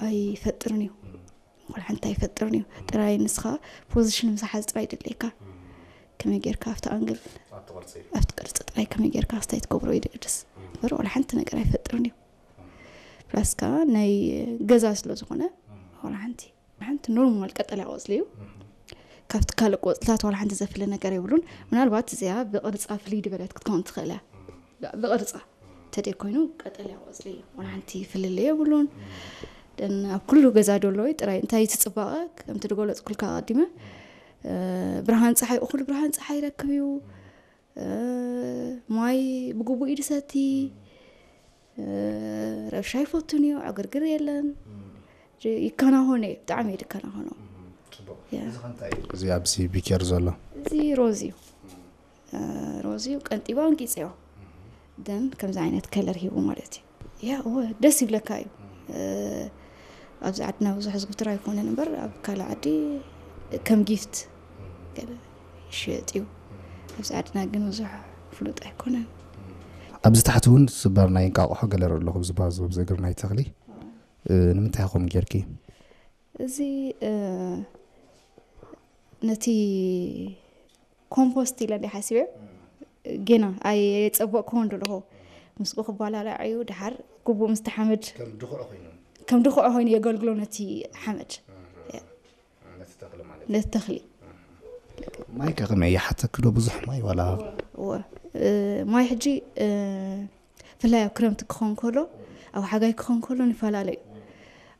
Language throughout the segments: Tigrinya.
ኣይፈጥርን እዩ። ወላ ሓንቲ ኣይፈጥርን እዩ። ጥራይ ንስኻ ፖዚሽን ምሳሓዝ ጥራይ ድለካ። ከመይ ጌርካ ኣብቲ ኣንግል፣ ኣብቲ ቅርፂ ጥራይ ከመይ ጌርካ ክስታይ ትገብሮ እዩ ድግድስ እምበር ወላ ሓንቲ ነገር ኣይፈጥርን እዩ። ፕላስ ከዓ ናይ ገዛ ስለ ዝኾነ ወላ ሓንቲ ሓንቲ ኖርማል ቀጠልያ ቆፅሊ እዩ። ካብቲ ካልእ ቆፅልታት ዋላ ሓንቲ ዘፍለ ነገር የብሉን። ምናልባት እዚኣ ብቕርፃ ፍልይ ዝበለት ክትከውን ትኽእል እያ። ብቕርፃ ተደ ኮይኑ ቀጠልያ ቆፅሊ እዩ። ዋላ ሓንቲ ፍልልይ የብሉን። ደን ኣብ ኩሉ ገዛ ደሎ እዩ። ጥራይ እንታይ እቲ ፅባቐ ከምቲ ዝገለፅኩልካ ኣቐዲመ፣ እ፣ ብርሃን ፀሓይ፣ እኹል ብርሃን ፀሓይ ይረክብ እዩ። እ፣ ማይ ብግቡእ እዩ ዝሰቲ። እ፣ ረብሻ ይፈቱን እዩ፣ ዕግርግር የለን። እ፣ ይከናኸኖ እዩ፣ ብጣዕሚ እዩ ዝከናኸኖ። ያ። እዚ ኣብዚ ቢኬር ዘሎ እዚ ሮዝ እዩ። እ፣ ሮዝ እዩ፣ ቀንጢባ ኣንቂፀዮ። ደን ከምዚ ዓይነት ከለር ሂቡ ማለት እዩ። ያ፣ እወ፣ ደስ ይብለካ እዩ። እ፣ ኣብዚ ዓድና ብዙሕ ዝዝውተር ኣይኮነን እምበር ኣብ ካልእ ዓዲ ከም ጊፍት ገለ ይሽየጥ እዩ። ኣብዚ ዓድና ግን ብዙሕ ፍሉጥ ኣይኮነን። ኣብዚ ታሕቲ እውን ስባር ናይ እንቃቑሖ ገለ ኣለኹ፣ ኣብዚ ባዞ፣ ኣብዚ እግሪ ናይ ተኽሊ። እ፣ ንምንታይ ከምኡ ጌርኪ? እዚ፣ እ፣ ነቲ ኮምፖስት ኢለ እንደ ሓሲበ፣ ጌና ኣየጸበቕኩዎን ደለኹ። ምስኡ ክባላላዕ እዩ፣ ድሓር ግቡእ ምስቲ ሓመድ ከም ድኹዒ ኮይኑ። ከም ድኹዒ ኮይኑ የገልግሎ ነቲ ሓመድ። ነቲ ተኽሊ ማለት እዩ። ነቲ ተኽሊ። ማይ ከ ከመይ ይሓተኪ ዶ ብዙሕ ማይ ዋላ? እወ፣ እ፣ ማይ ሕጂ፣ እ፣ ብፍላይ ኣብ ክረምቲ ክኸውን ከሎ፣ ኣብ ሓጋይ ክኸውን ከሎ ንፈላለ እዩ።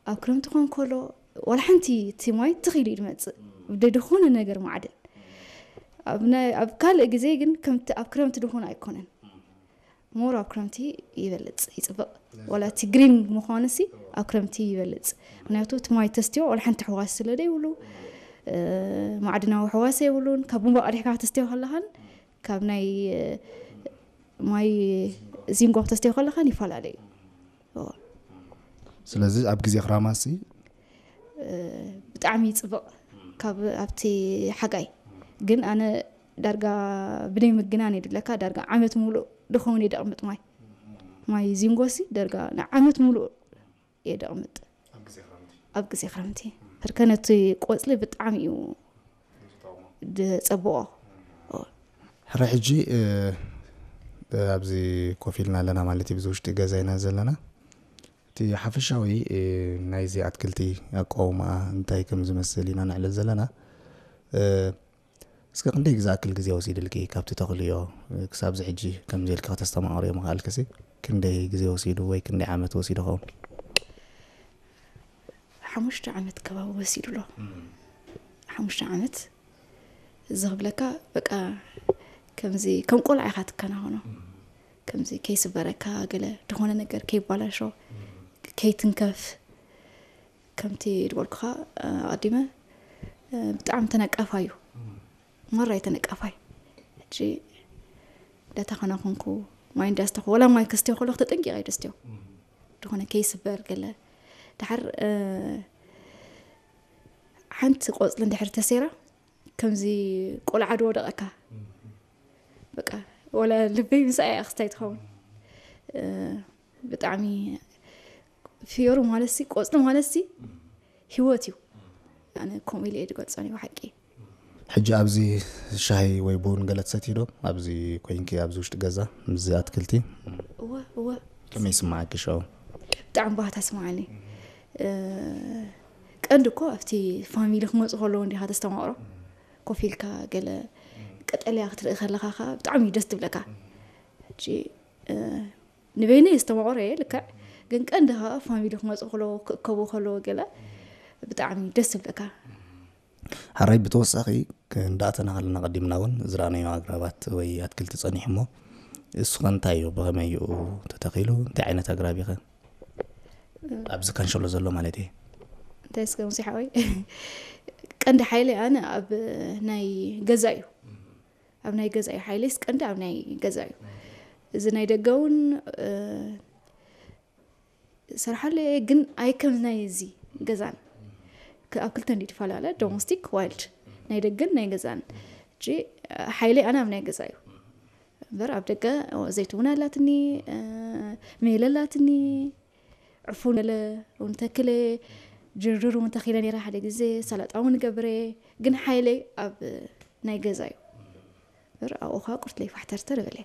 ኣብ ክረምቲ ክኸውን ከሎ፣ ዋላ ሓንቲ እቲ ማይ ትኽ ኢሉ እዩ ዝመጽእ። ብደይ ዝኾነ ነገር ማዕድን። ኣብ ናይ፣ ኣብ ካልእ ግዜ ግን ከምቲ ኣብ ክረምቲ ድኾነ ኣይኮነን። ሞር ኣብ ክረምቲ ይበልጽ፣ ይጽብቕ። ዋላ እቲ ግሪን ምዃኑሲ ኣብ ክረምቲ ይበልጽ። ምኽንያቱ እቲ ማይ ተስትዮ ዋላ ሓንቲ ሕዋስ ስለ ዘይብሉ፣ እ፣ ማዕድናዊ ሕዋስ የብሉን። ካብ ቡንባ ቀዲሕካ ተስትዮ ከለኻን ካብ ናይ፣ እ፣ ማይ ዚንጎ ተስትዮ ከለኻን ይፈላለ እዩ። እዎ። ስለዚ ኣብ ግዜ ክራማሲ እ፣ ብጣዕሚ ይጽብቕ ካብ ኣብቲ ሓጋይ። ግን ኣነ ዳርጋ ብደይ ምግናን የድለካ፣ ዳርጋ ዓመት ሙሉእ ድኸውን እየ ደቕምጥ ማይ። ማይ ዚንጎሲ ዳርጋ ንዓመት ሙሉእ እየ ደቕምጥ። ኣብ ግዜ ክረምቲ። ኣብ ግዜ ክረምቲ። ሕርከ ነቲ ቆጽሊ ብጣዕሚ እዩ ዝጠቕሞ። ዝጸብቖ። እዎ። ሕረ ሕጂ፣ እ፣ ኣብዚ ኮፍ ኢልና ኣለና ማለት እዩ፣ ብዚ ውሽጢ ገዛ ኢና ዘለና። እቲ ሓፈሻዊ፣ እ፣ ናይዚ ኣትክልቲ ኣቃውማ እንታይ ከም ዝመስል ኢና ነዕልል ዘለና። እ፣ እስከ ክንደይ ዝኣክል ግዜ ወሲድልኪ ካብቲ ተኽልዮ፣ እ፣ ክሳብ እዚ ሕጂ ከምዚ ኢልኪ ከተስተማቕርዮ ምኽኣልክሲ? ክንደይ ግዜ ወሲዱ ወይ ክንደይ ዓመት ወሲዱ ኸውን? ሓሙሽተ ዓመት ከባቢ ወሲዱ ኣሎ። እም። ሓሙሽተ ዓመት። እዚ ክብለካ በቃ ከምዚ ከም ቆልዓ ኢኻ ትከናኸኖ። እም። ከምዚ ከይስበረካ፣ ገለ ዝኾነ ነገር ከይባላሾ፣ እም። ከይትንከፍ። ከምቲ ዝበልኩኻ፣ እ፣ ኣቐዲመ፣ እ፣ ብጣዕሚ ተነቃፋይ እዩ። እም። ማራ እዩ ተነቃፋይ። ሕጂ እንዳተኸናኸንኩ፣ ማይ እንዳስተኹ፣ ወላ ማይ ከስትዮ ከለኹ ተጠንቂቐ እየ ደስትዮ። እም። ዝኾነ ከይስበር ገለ። ድሓር፣ እ፣ ሓንቲ ቆጽሊ እንድሕር ተሰይራ፣ ከምዚ ቆልዓ ዶ ወደቐካ? እም። በቃ፣ ወላ ልበይ ምስኣ እያ ክስታይ ትኸውን። እ፣ ብጣዕሚ ፍዮሪ ማለትሲ፣ ቆጽሊ ማለትሲ፣ እም። ህይወት እዩ። ኣነ ከምኡ ኢለ እየ ዝገልጾ፣ ናይ ብሓቂ። ሕጂ ኣብዚ ሻሂ ወይ ቡን ገለ ትሰትዪ ዶ? ኣብዚ ኮይንኪ፣ ኣብዚ ውሽጢ ገዛ፣ ምስዚ ኣትክልቲ? እወ፣ እወ። ከመይ ይስምዓኪ ሽዑ? ብጣዕሚ ባህታ ይስምዓኒ። እ፣ ቀንዲ እኮ ኣብቲ ፋሚሊ ክመጹ ከለዉ እንዲኻ ተስተማቕሮ። ኮፍ ኢልካ ገለ ቀጠልያ ክትርኢ ከለኻ ኸኣ ብጣዕሚ እዩ ደስ ትብለካ። ሕጂ፣ እ፣ ንበይነይ የስተማቕሮ እየ ልክዕ፣ ግን ቀንዲ ኸኣ ፋሚሊ ክመጹ ከለዉ፣ ክእከቡ ከለዉ ገለ ብጣዕሚ ደስ ትብለካ። ሓራይ ብተወሳኺ ክንዳእተና ከለና ቀዲምና እውን ዝረኣናዮ ኣግራባት ወይ ኣትክልቲ ጸኒሑ እሞ፣ እሱ ኸ እንታይ እዩ? ብኸመይ እዩ ተተኺሉ? እንታይ ዓይነት ኣግራብ እዩ ኸ? ኣብዚ ካንሸሎ ዘሎ ማለት እየ። እንታይ እስከ ሙሴ ሓወይ? ቀንዲ ሓይሊ ኣነ ኣብ ናይ ገዛ እዩ። ኣብ ናይ ገዛ እዩ ሓይሊስ ቀንዲ ኣብ ናይ ገዛ እዩ። እዚ ናይ ደገ እውን፣ እ፣ ሰርሓሉ እየ፣ ግን ኣይ ከም ናይ እዚ ገዛን። ክ-፣ ኣብ ክልተ እንዲ ትፈላለ፣ ዶሜስቲክ፣ ዋይልድ። ናይ ደገን ናይ ገዛን። ሕጂ፣ ሓይሊ ኣነ ኣብ ናይ ገዛ እዩ። እምበር ኣብ ደገ ዘይትውን ኣላትኒ፣ እ፣ ሜለ ኣላትኒ፣ ዕፉን ገለ እውን ተክለ፣ ጅርር እውን ተኺለ ነይረ ሓደ ግዜ፣ ሰላጣ እውን ገብረ። ግን ሓይለይ ኣብ ናይ ገዛ እዩ። በር ኣብኡ ኸዓ ቁርትለይ ፋሕተርተር በለ።